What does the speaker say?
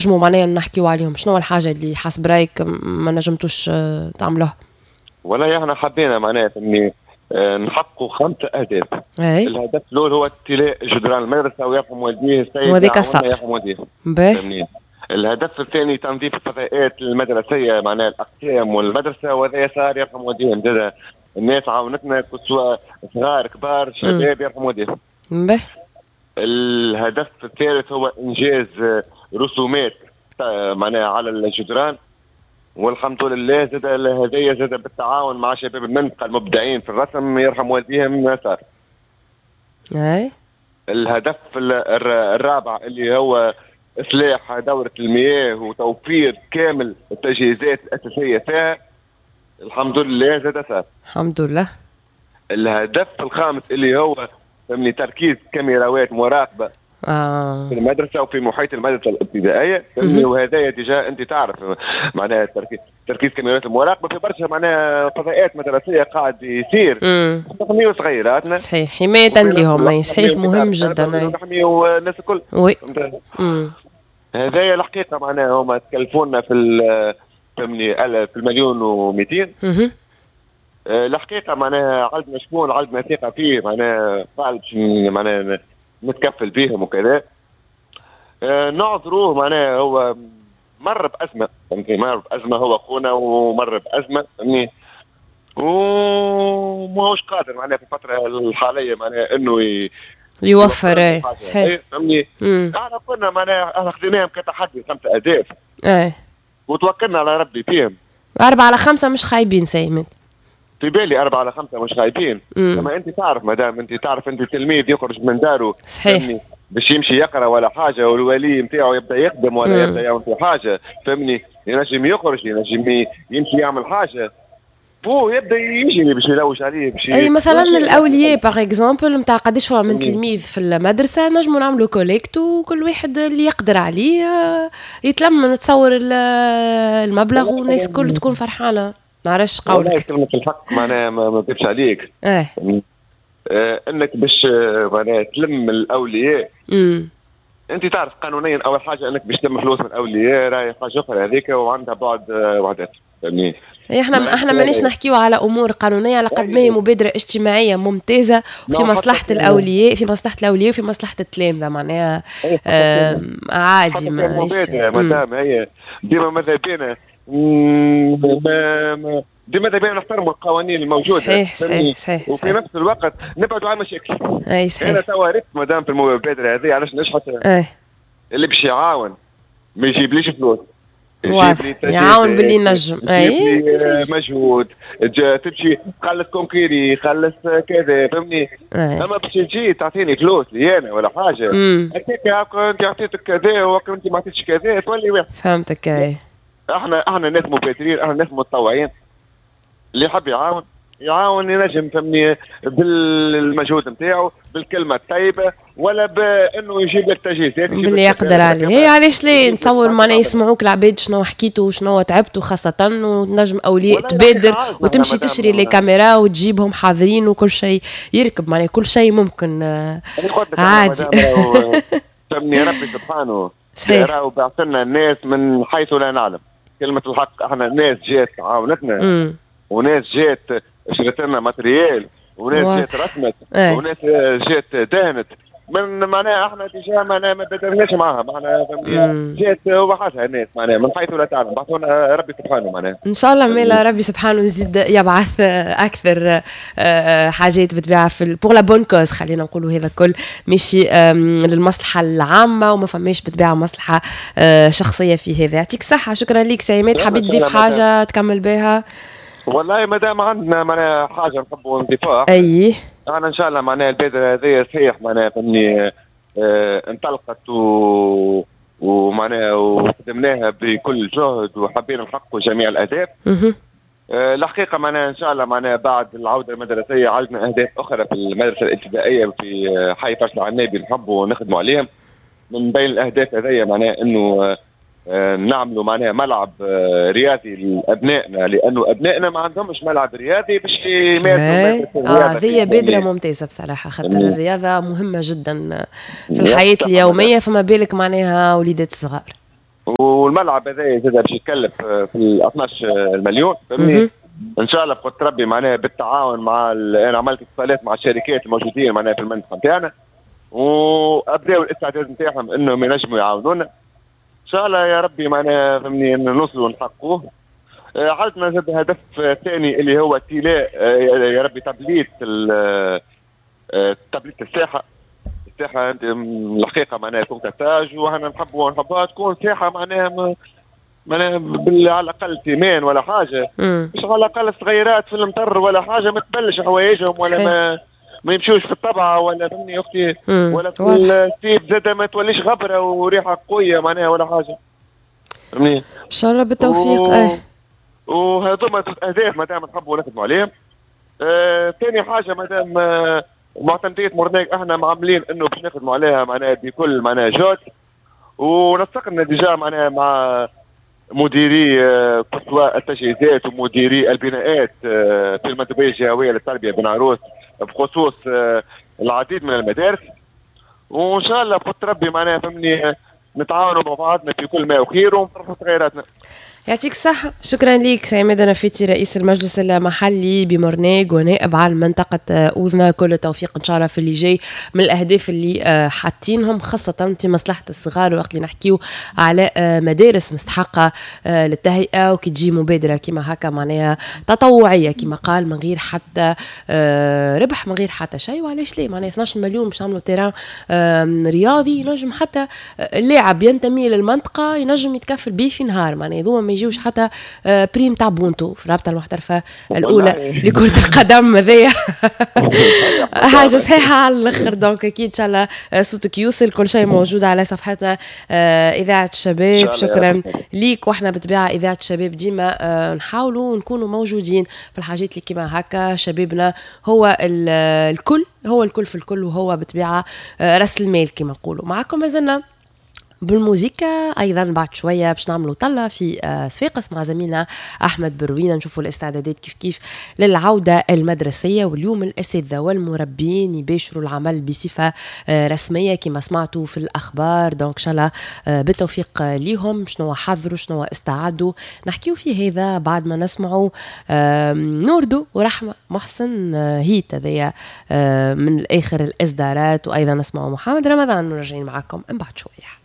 نجموا معناها نحكيو عليهم؟ شنو الحاجة اللي حسب رايك ما نجمتوش تعملوها؟ والله احنا حبينا معناها فهمني نحققوا 5 اهداف. الهدف الاول هو امتلاء جدران المدرسة ويرحم والديه السيد وهذيك صار يرحم والديه. الهدف الثاني تنظيف الفضاءات المدرسية معناها الاقسام والمدرسة، وهذا صار يرحم والديهم زاد الناس عاونتنا سواء صغار كبار شباب يرحم والديهم. الهدف الثالث هو انجاز رسومات معناها على الجدران، والحمد لله زاد هذايا زاد بالتعاون مع شباب المنطقة المبدعين في الرسم يرحم والديهم صار. اي. الهدف الرابع اللي هو اصلاح دوره المياه وتوفير كامل التجهيزات الاساسية فيها، الحمد لله زاد صار. الحمد لله. الهدف الخامس اللي هو فهمني تركيز كاميراوات مراقبة في المدرسة وفي محيط المدرسة الابتدائية، فهمني وهذايا déjà انت تعرف معناها تركيز كاميرات المراقبة في برشا معناها فضاءات مدرسيه قاعد يصير. نحميو صغيراتنا. صحيح، حماية لهم، صحيح مهم جدا. نحميو الناس الكل. oui. هذايا الحقيقة معناها هما تكلفونا في فهمني في 1,200,000. الحقيقة معناها عندنا شكون عندنا ثقة فيه معناها قال معناها نتكفل بيهم وكذا. نعذروه معناها هو مر بازمه، فهمتني، مر بازمه هو خونا ومر بازمه فهمتني، وماهوش قادر معناها في الفترة الحالية معناها انه يوفر. صحيح فهمني. احنا قلنا معناها احنا خذيناهم كتحدي 5 اهداف. اي. وتوكلنا على ربي فيهم. 4 على 5 مش خايبين سيمن. في بالي 4 على 5 مش خايبين. لما انت تعرف مدام انت تعرف انت تلميذ يخرج من داره صحيح باش يمشي يقرا ولا حاجة، والولي نتاعو يبدا يخدم ولا يبدا يعمل في حاجة فهمني، ينجم يخرج ينجم يمشي يعمل حاجة، بو يبدا يجري باش يلوج عليه باش. اي مثلا الاولياء par exemple نتاع قداش فما من تلميذ في المدرسة نجموا نعملوا collecte وكل واحد اللي يقدر عليه يتلم نتصور المبلغ والناس الكل تكون فرحانة. نعرفش قولك. كلمة الحق معناها ما نكذبش عليك. انك باش معناها تلم الاولياء. انت تعرف قانونيا اول حاجة انك باش تلم فلوس من الاولياء راهي حاجة اخرى هذيك وعندها بعد وعدات فهمني. احنا مانيش نحكيو على امور قانونية على قد ما هي مبادرة اجتماعية ممتازة وفي مصلحة الاولياء، في مصلحة الاولياء وفي مصلحة التلامذه معناها عادي. مبادرة مادام هي ديما ماذا بينا ديما ماذا بينا نحترموا القوانين الموجودة. صحيح صحيح صحيح. وفي نفس الوقت نبعدوا عن المشاكل. اي صحيح. انا توا ريت مادام في المبادرة هذه علاش نجحت. اللي باش يعاون ما يجيبليش فلوس، يعاون باللي نجم. اي مجهود تمشي تخلص concours خلص كذا فهمني. اما باش تجي تعطيني فلوس لي انا ولا حاجة هكاك انت عطيتك كذا وانت ما عطيتش كذا تولي واحد. فهمتك. اي احنا ناس مبادرين، احنا ناس متطوعين، اللي يحب يعاون يعاون ينجم فهمني بالمجهود نتاعو بالكلمة الطيبة ولا بانه يجيب لك تجهيزات باللي يقدر عليه. هي علاش لا نتصور معناها يسمعوك العباد شنو حكيتوا وشنو تعبتوا خاصة، وتنجم اولياء تبادر وتمشي تشري les caméras وتجيبهم حاضرين وكل شيء يركب معناها كل شيء ممكن عادي. فهمني ربي سبحانه راهو بعث لنا الناس من حيث لا نعلم. كلمة الحق احنا ناس جات عاونتنا وناس جات شرت لنا matériel وناس جات رسمت وناس جات دهنت من معناها احنا déjà معناها ما بدرناش معاها معناها جات وحدها الناس معناها من حيث لا تعلم بعثونا ربي سبحانه معناها. ان شاء الله مالا ربي سبحانه يزيد يبعث اكثر حاجات بالطبيعة في pour la bonne cause، خلينا نقولوا هذا الكل ماشي للمصلحة العامة وما فماش بالطبيعة مصلحة شخصية في هذا. يعطيك الصحة، شكرا لك سي عماد. حبيت تضيف حاجة تكمل بها؟ والله مادام عندنا معناها حاجة نحبوا نضيفوها. اي انا ان شاء الله معناها البادرة هذه صحيح معناها فهمني انطلقت ومعناها وخدمناها بكل جهد وحبينا نحققوا جميع الاهداف. الحقيقة معناها ان شاء الله معناها بعد العودة المدرسية عندنا اهداف اخرى في المدرسة الابتدائية في حي فرس العنابي نحبوا نخدموا عليهم. من بين الاهداف هذه معناها انه نعملوا معناها ملعب رياضي لابنائنا، لانه ابنائنا ما عندهمش ملعب رياضي باش يمارسوا الرياضة. هذه بادره ممتازة بصراحة، خاطر الرياضة مهمة جدا في الحياة اليومية، فما بالك معناها وليدات صغار. والملعب هذا زاد باش يتكلف في 12 مليون، فهمني؟ ان شاء الله بقدرة ربي معناها بالتعاون مع انا عملت اتصالات مع الشركات الموجودين معناها في المنطقة نتاعنا، وابداوا الاستعداد نتاعهم انهم ينجموا يعاونونا. ان شاء الله يا ربي معناها فهمني نوصلوا ونحققوه. عندنا زاد هدف ثاني اللي هو تلاء يا ربي تبليط تبليط الساحة. الساحة الحقيقة معناها فوق تاج، وحنا نحبوها تكون ساحة معناها على الاقل ciment ولا حاجة، مش على الاقل صغيرات في المطر ولا حاجة ما تبلش حوايجهم ولا ما يمشوش في الطبعة ولا فهمني اختي، ولا في السيف زاد ما توليش غبرة وريحه قوية معناها ولا حاجة، فهمني؟ ان شاء الله بالتوفيق. وهذوما اهداف مادام نحبوا نخدموا عليهم. ثاني حاجة مادام معتمديه مرناق احنا معاملين انه باش نخدموا عليها معناها بكل معناها جهد، ونسقنا déjà معناها مع مديري قصوى التجهيزات ومديري البناءات في المندوبيه الجهوية للتربية بن عروس بخصوص العديد من المدارس، وان شاء الله بقدرة ربي معناها فهمني نتعاونوا مع بعضنا في كل ما هو خير ونفرحوا صغيراتنا. يعطيك الصحة، شكرا لك سي عماد نفيتي رئيس المجلس المحلي بمرناق ونائب عن منطقة أوذنا. كل التوفيق إن شاء الله في اللي جاي من الأهداف اللي حاطينهم، خاصة في مصلحة الصغار، وقت اللي نحكيو على مدارس مستحقة للتهيئة، وكي تجي مبادرة كيما هكا معناها تطوعية كيما قال، من غير حتى ربح، من غير حتى شيء، وعلاش ليه معناها 12 مليون باش نعملوا terrain رياضي ينجم حتى اللاعب ينتمي للمنطقة ينجم يتكفل به في نهار، معناها هذوما ما يجيوش حتى prime تاع بونتو في الرابطة المحترفه الاولى لكرة القدم هذايا حاجة صحيحه على الاخر. donc اكيد ان شاء الله صوتك يوصل، كل شيء موجود على صفحتنا اذاعة الشباب. شكرا ليك، واحنا بالطبيعة اذاعة الشباب ديما نحاولوا نكونوا موجودين في الحاجات اللي كيما هكا. شبابنا هو الكل، هو الكل في الكل، وهو بالطبيعة راس المال كيما نقولوا. معكم مازلنا بالموزيكا ايضا بعد شوية باش نعملوا طله في صفاقس مع زميلنا احمد بروينه، نشوفوا الاستعدادات كيف كيف للعودة المدرسية. واليوم الاساتذة والمربين يباشروا العمل بصفة رسمية كما سمعتوا في الاخبار. donc ان شاء الله بالتوفيق ليهم، شنو حضروا شنو استعدوا، نحكيو في هذا بعد ما نسمعوا نوردو ورحمة محسن هيت هذايا من اخر الاصدارات، وايضا نسمعوا محمد رمضان. وراجعين معكم من بعد شوية.